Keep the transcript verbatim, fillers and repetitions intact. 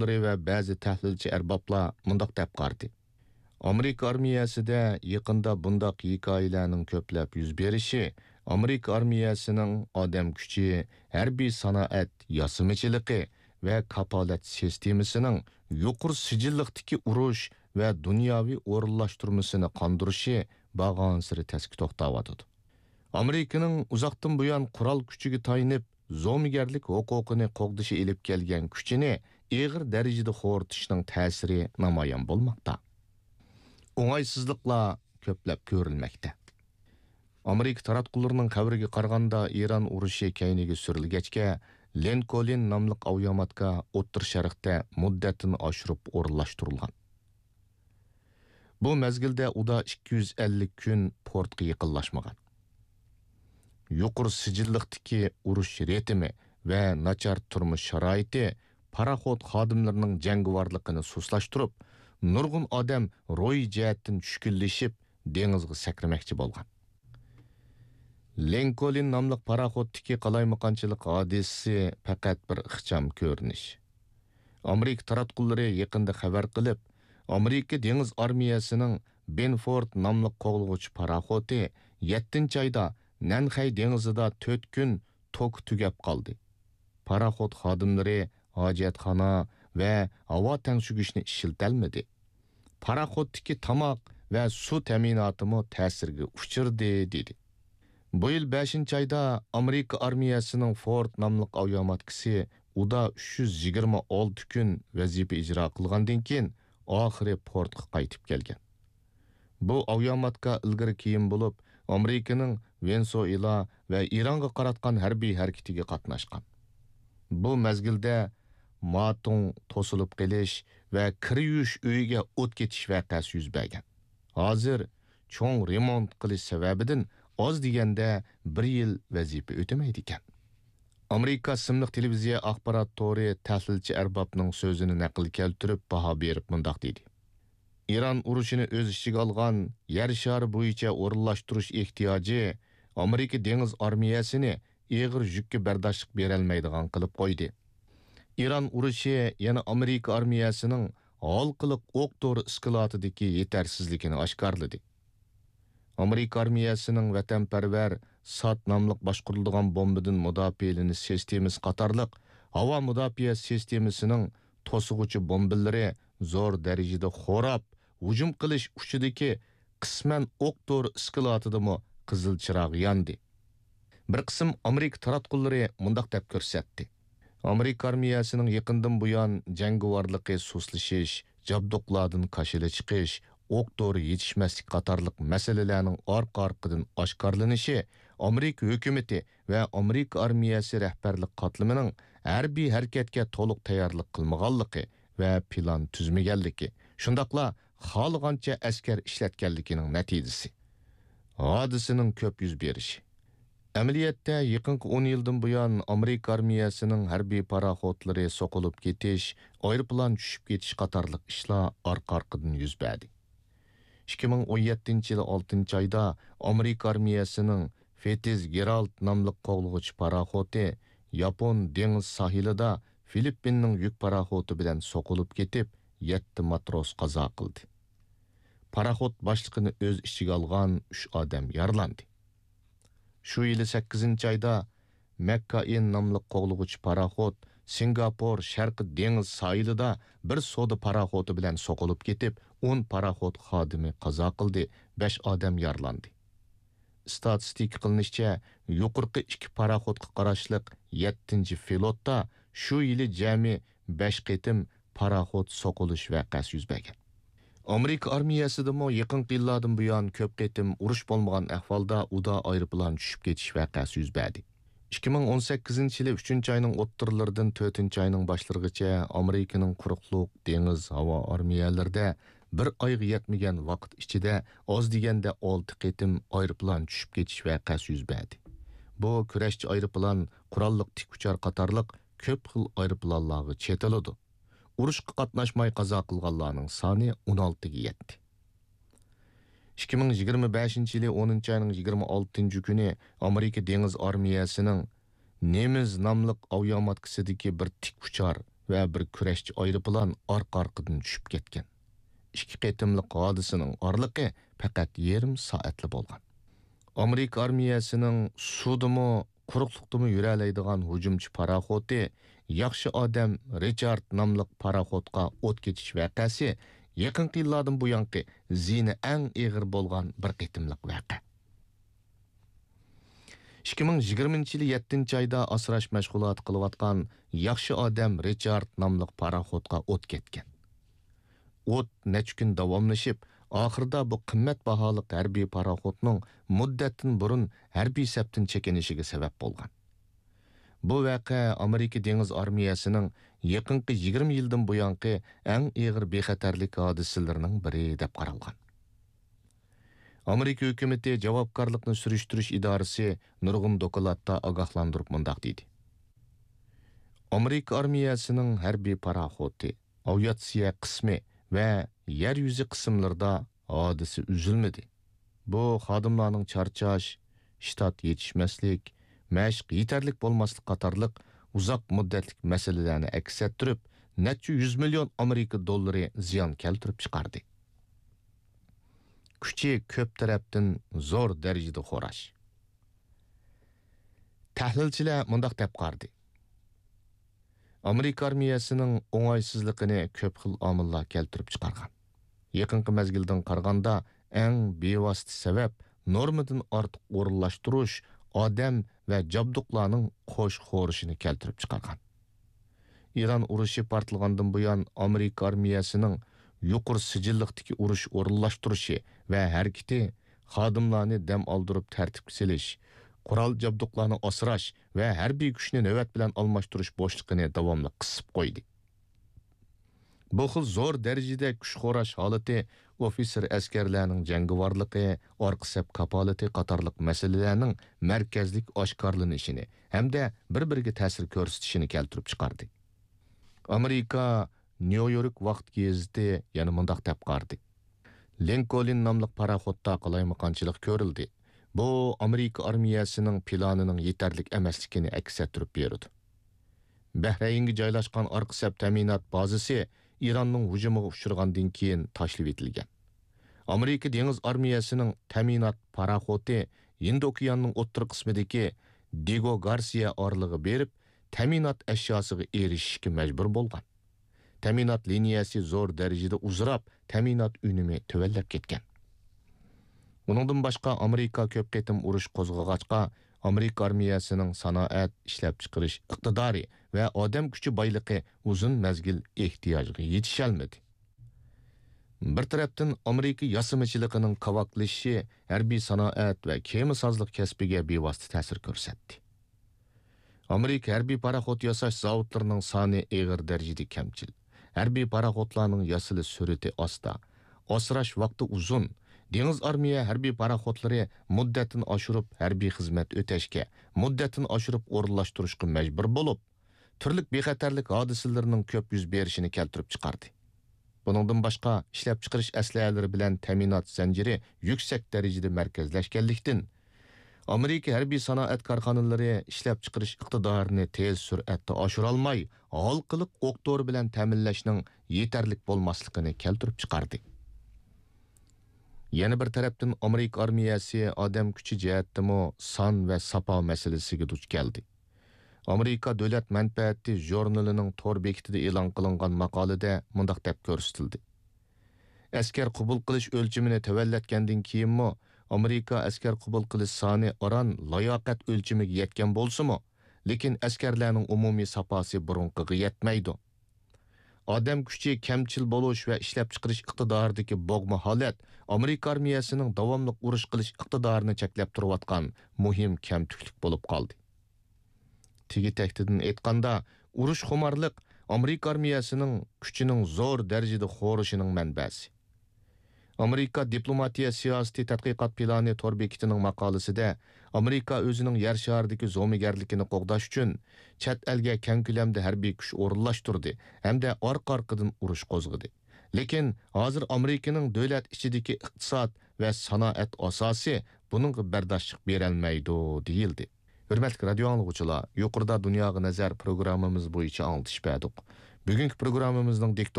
تاراتقۇلىرى ۋە بەزى تەھلىلچى ئەربابلار مۇنداق دەپ قارىدى: ئامېرىكا ئارمىيەسىدە يېقىندا بۇنداق ھېكايىلەرنىڭ كۆپلەپ يۈز بېرىشى ئامېرىكا ئارمىيەسىنىڭ ئادەم كۈچى، ھەربىي سانائەت ياسىمىچىلىقى ۋە كاپالەت سىستېمىسىنىڭ يۇقىرى سىجىللىقتىكى ئۇرۇش ۋە دۇنياۋى ئورۇنلاشتۇرمىسىنى قاندۇرۇشى بارغانسېرى تەسكە توختاۋاتىدۇ. ئامېرىكىنىڭ ئۇزاقتىن بۇيان قورال كۈچىگە تايىنىپ، زومىگەرلىك ھوقۇقىنى قوغدىشى ئېلىپ كەلگەن كۈچىنى ئېغىر دەرىجىدە خورىتىشنىڭ تەسىرى نامايان بولماقتا. ئوڭايسىزلىقلار كۆپلەپ كۆرۈلمەكتە. ئامېرىكا تاراتقۇلىرىنىڭ خەۋىرىگە قارىغاندا، ئىران ئۇرۇشى كەينىگە سۈرۈلگەچكە، لىنكولن ناملىق ئاۋىياماتكا ئوتتۇرا شەرقتە مۇددەتنى ئاشۇرۇپ ئورۇنلاشتۇرۇلغان. بۇ مەزگىلدە ئۇدا ئىككى يۈز ئەللىك كۈن پورتقا يېقىنلاشمىغان. يۇقىرى سىجىللىقتىكى ئۇرۇش رىتىمى ۋە ناچار تۇرمۇش شارائىتى پاراخوت خادىملىرىنىڭ جەڭگىۋارلىقىنى سۇسلاشتۇرۇپ، نۇرغۇن ئادەم روھىي جەھەتتىن چۈشكۈنلىشىپ، دېڭىزغا سەكرىمەكچى بولغان. لىنكولن ناملىق پاراخوتتىكى قالايمىقانچىلىق ھادىسىسى پەقەت بىر ئىخچام كۆرۈنۈش. ئامېرىكا تاراتقۇلىرى يېقىندا خەۋەر قىلىپ، ئامېرىكا دېڭىز ئارمىيەسىنىڭ بېنفورد ناملىق قوغلىغۇچى پاراخوتى يەتتىنچى ئايدا نەنخەي دېڭىزىدا تۆت كۈن توكى تۈگەپ قالدى. پاراخوت خادىملىرى ھاجەتخانا ۋە ھاۋا تەڭشىگۈچنى ئىشلىتەلمىدى. پاراخوتتىكى تاماق ۋە سۇ تەمىناتىمۇ تەسىرگە ئۇچرىدى، دېدى. بۇ يىل بەشىنچى ئايدا ئامېرىكا ئارمىيەسىنىڭ فورد ناملىق ئاۋىياماتكىسى ئۇدا ئۈچ يۈز يىگىرمە ئالتە كۈن ۋەزىپە ئىجرا قىلغاندىن كېيىن، ئاخىرى پورتقا قايتىپ كەلگەن. بۇ ئاۋىياماتكا ئىلگىرى كېيىن بولۇپ، ئامېرىكىنىڭ ۋېنېسۇئېلا ۋە ئىرانغا قاراتقان ھەربىي ھەرىكىتىگە قاتناشقان. بۇ مەزگىلدە ماتۇڭ توسۇلۇپ قېلىش ۋە كىر يۇيۇش ئۆيىگە ئوت كېتىش ۋەقەسى يۈز بەرگەن. ھازىر چوڭ رېمونت قىلىش سەۋەبىدىن ئاز دېگەندە بىر يىل ۋەزىپە ئۆتىمەيدىكەن. ئامېرىكا ئىسىملىق تېلېۋىزىيە ئاخبارات تورى تەھلىلچى ئەربابنىڭ سۆزىنى نەقىل كەلتۈرۈپ باھا بېرىپ مۇنداق دېدى: ئىران ئۇرۇشىنى ئۆز ئىچىگە ئالغان يەر شارى بويىچە ئورۇنلاشتۇرۇش ئېھتىياجى ئامېرىكا دېڭىز ئارمىيەسىنى ئېغىر يۈككە بەرداشلىق بېرەلمەيدىغان قىلىپ قويدى. ئىران ئۇرۇشى يەنە ئامېرىكا ئارمىيەسىنىڭ ھالقىلىق ئوق دورا ئىسكىلاتىدىكى يېتەرسىزلىكىنى ئاشكارىلىدى. ئامېرىكا ئارمىيەسىنىڭ ۋەتەنپەرۋەر سات ناملىق باشقۇرۇلىدىغان بومبىدىن مۇداپىئەلىنىش سىستېمىسى قاتارلىق ھاۋا مۇداپىئە سىستېمىسىنىڭ توسۇغۇچى بومبىلىرى زور دەرىجىدە خوراپ، ھۇجۇم قىلىش ئۇچىدىكى قىسمەن ئوق دورا ئىسكىلاتىدىمۇ قىزىل چىراغ ياندى. بىر قىسىم ئامېرىكا تاراتقۇلىرى مۇنداق دەپ كۆرسەتتى: ئامېرىكا ئارمىيەسىنىڭ يېقىندىن بۇيان جەڭگىۋارلىقى سۇسلىشىش، جابدۇقلاردىن كاشىلا چىقىش، ئوق دورا يېتىشمەسلىك قاتارلىق مەسىلىلەرنىڭ ئارقا-ئارقىدىن ئاشكارىلىنىشى ئامېرىكا ھۆكۈمىتى ۋە ئامېرىكا ئارمىيەسى رەھبەرلىك قاتلىمىنىڭ ھەربىي ھەرىكەتكە تولۇق تەييارلىق قىلمىغانلىقى ۋە پىلان تۈزمىگەنلىكى، شۇنداقلا خالىغانچە ئەسكەر ئىشلەتكەنلىكىنىڭ نەتىجىسى. ھادىسىنىڭ كۆپ يۈز بېرىشى. ئەمەلىيەتتە، يېقىنقى ئون يىلدىن بۇيان ئامېرىكا ئارمىيەسىنىڭ ھەربىي پاراخوتلىرى سوقۇلۇپ كېتىش، ئايروپىلان چۈشۈپ كېتىش قاتارلىق ئىشلار ئارقا-ئارقىدىن يۈز بەردى. ئىككى مىڭ ئون يەتتىنچى يىلى ئالتىنچى ئايدا ئامېرىكا ئارمىيەسىنىڭ فىتزگېرالد ناملىق قوغلىغۇچى پاراخوتى ياپون دېڭىز ساھىلىدا فىلىپپىننىڭ يۈك پاراخوتى بىلەن سوقۇلۇپ كېتىپ، يەتتە ماتروس قازا قىلدى. پاراخوت باشلىقىنى ئۆز ئىچىگە ئالغان ئۈچ ئادەم يارىلاندى. شۇ يىلى سەككىزىنچى ئايدا مەككائىن ناملىق قوغلىغۇچى پاراخوت سىنگاپور شەرقىي دېڭىز ساھىلىدا بىر سودا پاراخوتى بىلەن سوقۇلۇپ كېتىپ، ئون پاراخوت خادىمى قازا قىلدى، بەش ئادەم يارىلاندى. ئىستاتىستىكا قىلىنىشىچە، يۇقىرىقى ئىككى پاراخوتقا قاراشلىق يەتتىنچى فلوتتا شۇ يىلى جەمئىي بەش قېتىم پاراخوت سوقۇلۇش ۋەقەسى يۈز بەرگەن. ئامېرىكا ئارمىيەسىدىمۇ يېقىنقى يىللاردىن بۇيان كۆپ قېتىم ئۇرۇش بولمىغان ئەھۋالدا ئۇدا ئايروپىلان چۈشۈپ كېتىش ۋەقەسى يۈز بەردى. ئىككى مىڭ ئون سەككىزىنچى يىلى ئۈچىنچى ئاينىڭ ئوتتۇرىلىرىدىن تۆتىنچى ئاينىڭ باشلىرىغىچە ئامېرىكىنىڭ قۇرۇقلۇق، دېڭىز، ھاۋا ئارمىيەلىرىدە بىر ئايغا يەتمىگەن ۋاقىت ئىچىدە ئاز دېگەندە ئالتە قېتىم ئايروپىلان چۈشۈپ كېتىش ۋەقەسى يۈز بەردى. بۇ كۈرەشچى ئايروپىلان، قوراللىق تىك ئۇچار قاتارلىق كۆپ خىل ئايروپىلانلارغا چېتىلىدۇ. ئۇرۇشقا قاتناشماي قازا قىلغانلارنىڭ سانى ئون ئالتىگە يەتتى. ئىككى مىڭ يىگىرمە بەشىنچى يىلى ئونىنچى ئاينىڭ يىگىرمە ئالتىنچى كۈنى ئامېرىكا دېڭىز ئارمىيەسىنىڭ نېمىز ناملىق ئاۋىياماتكىسىدىكى بىر تىك ئۇچار ۋە بىر كۈرەشچى ئايروپىلان ئارقا-ئارقىدىن چۈشۈپ كەتكەن. ئىككى قېتىملىق ھادىسىنىڭ ئارىلىقى پەقەت يېرىم سائەتلا بولغان. ئامېرىكا ئارمىيەسىنىڭ سۇدىمۇ، قۇرۇقلۇقتىمۇ يۈرەلەيدىغان ھۇجۇمچى پاراخوتى ياخشى ئادەم رىچارد ناملىق پاراخوتقا ئوت كېتىش ۋەقەسى يېقىنقى يىللاردىن بۇيانقى زىيىنى ئەڭ ئېغىر بولغان بىر قېتىملىق ۋەقە. ئىككى مىڭ يىگىرمىنچى يىلى يەتتىنچى ئايدا ئاسراش مەشغۇلاتى قىلىۋاتقان ياخشى ئادەم رىچارد ناملىق پاراخوتقا ئوت كەتكەن. ئوت نەچچە كۈن داۋاملىشىپ، ئاخىرىدا بۇ قىممەت باھالىق ھەربىي پاراخوتنىڭ مۇددەتتىن بۇرۇن ھەربىي سەپتىن چېكىنىشىگە سەۋەب بولغان. بۇ ۋەقە ئامېرىكا دېڭىز ئارمىيەسىنىڭ يېقىنقى يىگىرمە يىلدىن بۇيانقى ئەڭ ئېغىر بىخەتەرلىك ھادىسىلىرىنىڭ بىرى دەپ قارالغان. ئامېرىكا ھۆكۈمىتى جاۋابكارلىقنى سۈرۈشتۈرۈش ئىدارىسى نۇرغۇن دوكلاتتا ئاگاھلاندۇرۇپ مۇنداق دېدى: ئامېرىكا ئارمىيەسىنىڭ ھەربىي پاراخوتى، ئاۋىئاتسىيە قىسمى ۋە يەر يۈزى قىسىملىرىدا ھادىسە ئۈزۈلمىدى. بۇ خادىملارنىڭ چارچاش، شتات يېتىشمەسلىك، مەشىق يېتەرلىك بولماسلىق قاتارلىق ئۇزاق مۇددەتلىك مەسىلىلەرنى ئەكس ئەتتۈرۈپ، نەچچە يۈز مىليون ئامېرىكا دوللىرى زىيان كەلتۈرۈپ چىقاردى. كۈچى كۆپ تەرەپتىن زور دەرىجىدە خوراش. تەھلىلچىلەر مۇنداق دەپ قارىدى: ئامېرىكا ئارمىيەسىنىڭ ئوڭايسىزلىقىنى كۆپ خىل ئامىللار كەلتۈرۈپ چىقارغان. يېقىنقى مەزگىلدىن قارىغاندا، ئەڭ بىۋاسىتە سەۋەب نورمىدىن ئارتۇق ئورۇنلاشتۇرۇش، ئادەم ۋە جابدۇقلارنىڭ قوش خورۇشىنى كەلتۈرۈپ چىقارغان. ئىران ئۇرۇشى پارتلىغاندىن بۇيان، ئامېرىكا ئارمىيەسىنىڭ يۇقىرى سىجىللىقتىكى ئۇرۇش ئورۇنلاشتۇرۇشى ۋە ھەرىكىتى خادىملارنى دەم ئالدۇرۇپ تەرتىپكە سېلىش، قورال جابدۇقلارنى ئاسراش ۋە ھەربىي كۈچنى نۆۋەت بىلەن ئالماشتۇرۇش بوشلۇقىنى داۋاملىق قىسىپ قويدى. بۇ خىل زور دەرىجىدە كۈچ خوراش ھالىتى ئوفىتسېر ئەسكەرلەرنىڭ جەڭگىۋارلىقى، ئارقا سەپ كاپالىتى قاتارلىق مەسىلىلەرنىڭ مەركەزلىك ئاشكارىلىنىشىنى ھەمدە بىر-بىرىگە تەسىر كۆرسىتىشىنى كەلتۈرۈپ چىقاردى. ئامېرىكا نيۇ يورك ۋاقىت گېزىتى يەنە مۇنداق دەپ قارىدى: لىنكولن ناملىق پاراخوتتا قالايمىقانچىلىق كۆرۈلدى. بۇ ئامېرىكا ئارمىيەسىنىڭ پىلانىنىڭ يېتەرلىك ئەمەسلىكىنى ئەكس ئەتتۈرۈپ بېرىدۇ. بەھرەينگە جايلاشقان ئارقا سەپ تەمىنات بازىسى ئىراننىڭ ھۇجۇمىغا ئۇچرىغاندىن كېيىن تاشلىۋېتىلگەن. ئامېرىكا دېڭىز ئارمىيەسىنىڭ تەمىنات پاراخوتى ھىندى ئوكيانىنىڭ ئوتتۇرا قىسمىدىكى دىگو گارسىيە ئارىلىغا بېرىپ، تەمىنات ئەشياسىغا ئېرىشىشكە مەجبۇر بولغان. تەمىنات لىنىيەسى زور دەرىجىدە ئۇزىراپ، تەمىنات ئۈنۈمى تۆۋەنلەپ كەتكەن. ئۇنىڭدىن باشقا، ئامېرىكا كۆپ قېتىم ئۇرۇش قوزغىغاچقا، ئامېرىكا ئارمىيەسىنىڭ سانائەت، ئىشلەپچىقىرىش ئىقتىدارى ۋە ئادەم كۈچى بايلىقى ئۇزۇن مەزگىل ئېھتىياجغا يېتىشەلمىدى. بىر تەرەپتىن، ئامېرىكا ياسىمىچىلىقىنىڭ كاۋاكلىشىشى ھەربىي سانائەت ۋە كېمىسازلىق كەسپىگە بىۋاسىتە تەسىر كۆرسەتتى. ئامېرىكا ھەربىي پاراخوت ياساش زاۋۇتلىرىنىڭ سانى ئېغىر دەرىجىدە كەمچىل. ھەربىي پاراخوتلارنىڭ ياسىلىش سۈرئىتى ئاستا. ئاسراش ۋاقتى ئۇزۇن. دېڭىز ئارمىيە ھەربىي پاراخوتلىرى مۇددەتتىن ئاشۇرۇپ ھەربىي خىزمەت ئۆتەشكە، مۇددەتتىن ئاشۇرۇپ ئورۇنلاشتۇرۇشقا مەجبۇر بولۇپ، تۈرلۈك بىخەتەرلىك ھادىسىلىرىنىڭ كۆپ يۈز بېرىشىنى كەلتۈرۈپ چىقاردى. بۇنىڭدىن باشقا، ئىشلەپچىقىرىش ئەسلىھەلىرى بىلەن تەمىنات زەنجىرى يۈكسەك دەرىجىدە مەركەزلەشكەنلىكتىن، ئامېرىكا ھەربىي سانائەت كارخانىلىرى ئىشلەپچىقىرىش ئىقتىدارىنى تېز سۈرئەتتە ئاشۇرالماي، ھالقىلىق ئوق دورا بىلەن تەمىنلەشنىڭ يېتەرلىك بولماسلىقىنى كەلتۈرۈپ چىقاردى. يەنە بىر تەرەپتىن، ئامېرىكا ئارمىيەسى ئادەم كۈچى جەھەتتىمۇ سان ۋە ساپا مەسىلىسىگە دۇچ كەلدى. ئامېرىكا دۆلەت مەنپەئەتى ژۇرنىلىنىڭ تور بېكىتىدە ئېلان قىلىنغان ماقالىدە مۇنداق دەپ كۆرسىتىلدى: ئەسكەر قوبۇل قىلىش ئۆلچىمىنى تۆۋەنلەتكەندىن كېيىنمۇ، ئامېرىكا ئەسكەر قوبۇل قىلىش سانى ئاران لاياقەت ئۆلچىمىگە يەتكەن بولسىمۇ، لېكىن ئەسكەرلەرنىڭ ئومۇمىي ساپاسى بۇرۇنقىغا يەتمەيدۇ. ئادەم كۈچى كەمچىل بولۇش ۋە ئىشلەپچىقىرىش ئىقتىدارىدىكى بوغما ھالەت ئامېرىكا ئارمىيەسىنىڭ داۋاملىق ئۇرۇش قىلىش ئىقتىدارىنى چەكلەپ تۇرۇۋاتقان مۇھىم كەمتۈكلۈك بولۇپ قالدى. تېگى تەكتىدىن ئېيتقاندا، ئۇرۇش خۇمارلىق ئامېرىكا ئارمىيەسىنىڭ كۈچىنىڭ زور دەرىجىدە خورىشىنىڭ مەنبەسى. ئامېرىكا دىپلوماتىيە سىياسىتى تەتقىقات پىلانى تور بېكىتىنىڭ ماقالىسىدە، ئامېرىكا ئۆزىنىڭ يەر شارىدىكى زومىگەرلىكىنى قوغداش ئۈچۈن چەت ئەلگە كەڭ كۆلەمدە ھەربىي كۈچ ئورۇنلاشتۇردى ھەمدە ئارقا-ئارقىدىن ئۇرۇش قوزغىدى. لېكىن ھازىر ئامېرىكىنىڭ دۆلەت ئىچىدىكى ئىقتىساد ۋە سانائەت ئاساسى بۇنىڭغا بەرداشلىق بېرەلمەيدۇ، دېيىلدى. ھۆرمەتلىك رادىيو ئاڭلىغۇچىلار، يۇقىرىدا دۇنياغا نەزەر پروگراممىمىز بويىچە ئاڭلىتىش بەردۇق. بۈگۈنكى پروگراممىمىزنىڭ دىكتورى